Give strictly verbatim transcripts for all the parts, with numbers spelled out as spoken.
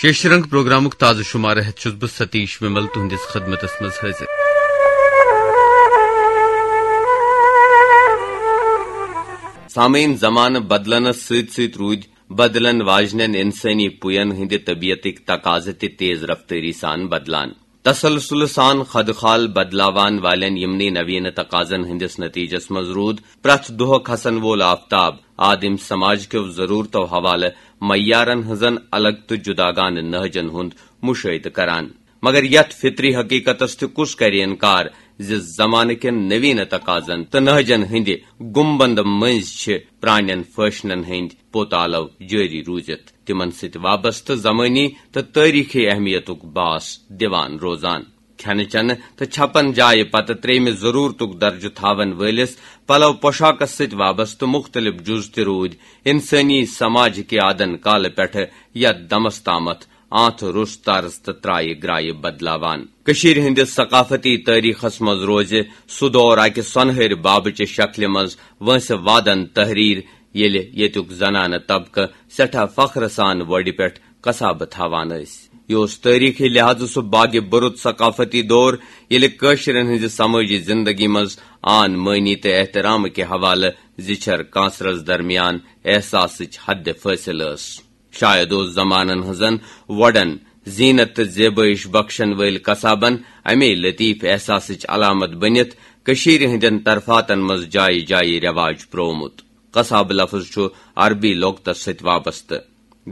شیشرنگ پروگرامُک تازٕ شمارٕ ہٮ۪تھ چھُس بہٕ ستیش ومل تُہنٛدِس خدمتس منٛز حٲضِر۔ سامعین، زمانہٕ بدلنس سۭتۍ سۭتۍ روٗدۍ بدلن واجنٮ۪ن انسٲنی پُین ہٕنٛدِ طبیعتٕکۍ تقاضہٕ تہِ تیز رفتٲری سان بدلان۔ تسلسل سان خدخال بدلاوان والٮ۪ن یِمنٕے نویٖنہٕ تقاضن ہٕنٛدِس نتیجس منٛز روٗد پرٛٮ۪تھ دۄہ کھسن وول آفتاب آدم سماج کیو ضرورتو حوالہٕ معیارن ہٕنٛزن الگ تہٕ جداگانہٕ نہجن ہُنٛد مشاہدٕ کران۔ مگر یتھ فطری حقیقتس تہِ کُس کرِ انکار زِ زمانہٕ کٮ۪ن نویٖنہٕ تقاضن تہٕ نہجن ہٕنٛدِ گُمبند مٔنٛزۍ چھِ پرٛانٮ۪ن فیشنن ہٕنٛدۍ پوتالو جٲری روٗزِتھ تِمن سۭتۍ وابستہٕ زمٲنی تہٕ تٲریٖخی اہمیتُک باس دِوان روزان۔ کھٮ۪نہٕ چٮ۪نہٕ تہٕ چھپن جایہِ پتہٕ ترٛیٚیمہِ ضروٗرتُک درجہٕ تھاون وٲلِس پلو پوشاکس سۭتۍ وابستہٕ مُختٔلِف جُز تہِ روٗدۍ اِنسٲنی سماجٕکہِ آدن کالہٕ پٮ۪ٹھٕ یتھ دمس تامتھ آنٛتھ روٚس طرز تہٕ ترایہِ گرایہِ بدلاوان۔ کٔشیٖرِ ہٕنٛدِس ثقافتی تٲریٖخس منٛز روزِ سُہ دور اکہِ سۄنہٕرۍ بابہٕ چہِ شکلہِ منٛز وٲنٛسہِ وادن تحریر، ییٚلہِ ییٚتیُک زنانہٕ طبقہٕ سٮ۪ٹھاہ فخرٕ سان وۄڈِ پٮ۪ٹھ قصابہٕ تھاوان ٲسۍ۔ یہِ اوس تٲریٖخی لحاظہٕ سُہ باگِ برُت ثقافتی دور، ییٚلہِ کٲشرٮ۪ن ہٕنٛزِ سمٲجی زندگی منٛز آن مٲنی تہٕ احترام کہِ حوالہٕ زِچھر کانسرس درمیان احساسٕچ حد فٲصلہٕ ٲس۔ شاید اوس زمانن ہٕنٛزن وۄڈن زینت تہٕ زیبٲیش بخشن وٲلۍ قصابن امے لطیف احساسٕچ علامت بٔنِتھ کٔشیٖرِ ہٕنٛدٮ۪ن طرفاتن منٛز جایہِ جایہِ رٮ۪واج پرٛوومُت۔ قصابہٕ لفظ چھُ عربی لۄغتس سۭتۍ وابستہٕ۔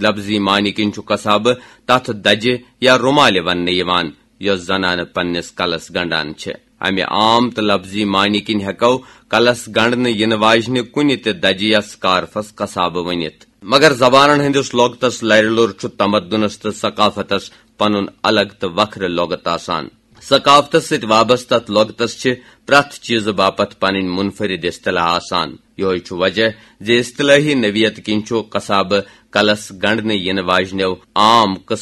لفظی معنی کِنۍ چھُ قصابہٕ تتھ دجہِ یا رُمالہِ وننہٕ یِوان، یۄس زنانہٕ پننِس کلس گنڈان چھِ۔ امہِ عام تہٕ لفظی معنی کِنۍ ہٮ۪کو کلس گنڈنہٕ یِنہٕ واجنہِ کُنہِ تہِ دجہِ یا سکارفس قصابہٕ ؤنِتھ۔ مگر زبانن ہٕنٛدِس لۄغتس لرِ لوٚر چھُ تمدنس تہٕ ثقافتس پنُن الگ تہٕ وکھرٕ لۄغت آسان۔ ثقافتس سۭتۍ وابستہٕ اتھ لۄغتس چھِ پرٛٮ۪تھ چیٖزٕ باپتھ پنٕنۍ منفرد اصطلاح آسان۔ یِہوٚے چھُ وجہ زِ اصطلٲحی نوعیت کِنۍ چھُ قصابہٕ کلس گنڈنہٕ یِنہٕ واجنیو عام قٕسمو